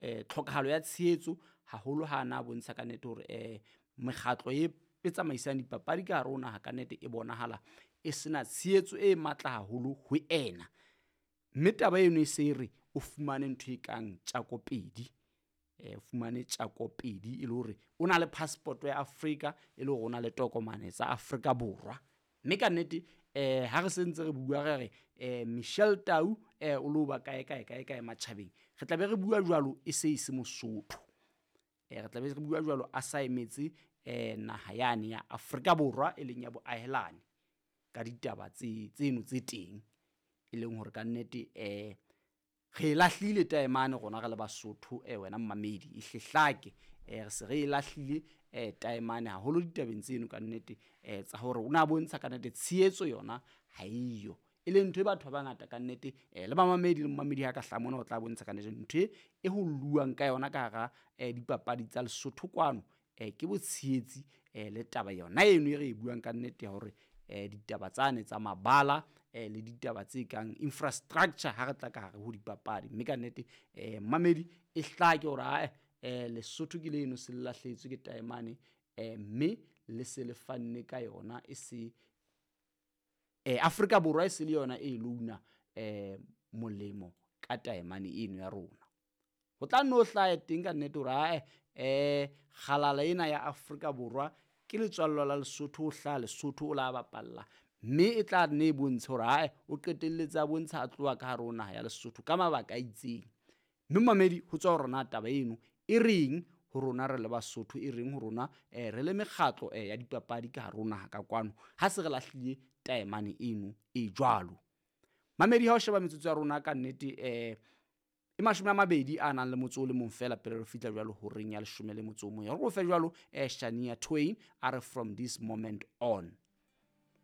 Tlhokahalo ya tshehetso haholo ha na bontsha ka nnete hore mekgatlo e tsamaisang dipapadi ka hare ho naha ka nnete e bonahala e sena tshehetso e matla haholo ho ena. Mme taba eno e se re o fumane ntho e kang tjako pedi, fumane tjako pedi e le hore o na le passport ya Afrika, e le hore o na le tokomane tsa Afrika Borwa. Mme ka nnete ha re sentse re bua re re Michelle Tau o lo ba kae kae kae kae matjhabeng, re tla be re bua jwalo e se e se Mosotho. Re tla be re bua jwalo a sa emetse naha yane ya Afrika Borwa e leng ya boahelane ka ditaba tseno tse teng, e leng hore ka nnete re e lahlile taemane rona re le Basotho wena mmamedi e hle hlake, re se re e lahlile taemane haholo ditabeng tseno ka nnete tsa hore o na bontsha ka nnete tshehetso yona ha eyo, e leng ntho e batho ba bangata ka nnete le bamamedi le momamedi ha ka hlaha mona o tla bontsha ka nnete ntho e ho lluwang ka yona ka hara dipapadi tsa Lesotho kwano ke botshehetsi le taba yona eno e re e buang ka nnete ya hore ditaba tsane tsa mabala le ditaba tse kang infrastructure ha re tla ka hare ho dipapadi. Mme ka nnete mmamedi e hlake hore ae Lesotho ke leno se le lahlehetswe ke taemane mme le se le fanne ka yona e se Afrika Borwa e se le yona e loan-a molemo ka taemane eno ya rona. Ho tla nno hlahe teng ka nnete hore ae kgalala ena ya Afrika Borwa ke letswallwa la Lesotho, o hlaha Lesotho o la bapalla, mme e tla nne e bontshe hore ae o qetelletse a bontsha a tloha ka hare ho naha ya Lesotho ka mabaka a itseng. Mme momamedi ho tswa hore na taba eno e reng ho rona re le Basotho, e reng ho rona re le mekgatlo ya dipapadi ka hare ho naha ka kwano ha se re lahlile taemane eno e jwalo. Mamedi ha o sheba metsotso ya rona ka nnete e 20 a nang le motso o le mong feela pele re fihla jwalo horeng ya 11. Hore o fe jwalo Shania Twain a re from this moment on.